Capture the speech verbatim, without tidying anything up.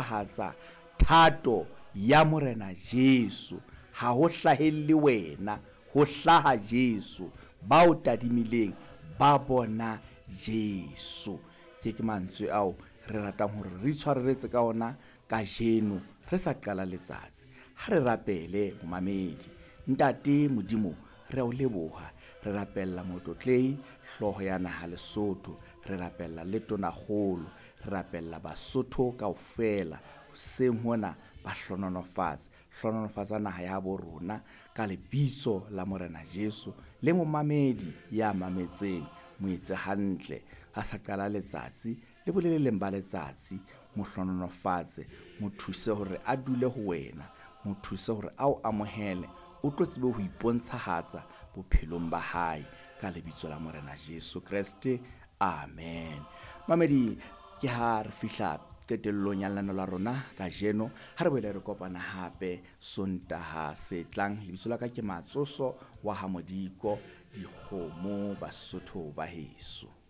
Hatsa thato ya Morena Jesu. Ha ho hlahelle wena, ho hlaha Jesu. Ba o tadimileng ba bona Jesu. Ke ke mantswe ao re ratang hore re itshwareletse ka ona kajeno re sa qala letsatsi. Ha re rapele momamedi. Ntate Modimo, re a o leboha. Re rapella motlotlehi hlooho ya naha Lesotho, re rapella le tonakgolo, re rapella Basotho kaofela. Hoseng hona ba hlohonolofatse, hlohonolofatsa naha ya bo rona ka lebitso la Morena Jesu. Le momamedi ya mametseng, mo etse hantle ha sa qala letsatsi le boleleng ba letsatsi, mo hlohonolofatse, mo thuse hore a dule ho wena, mo thuse hore a o amohele, o tlo tsebe ho ipontshahatsa bophelong ba hae ka lebitso la Morena Jesu Kreste. Amen. Mamedi, ke ha re fihla qetellong ya lenaneo la rona kajeno. Ha re boele re kopana hape Sontaha se tlang. Lebitso la ka ke Matsoso wa ha Modiko, dikgomo Basotho ba heso.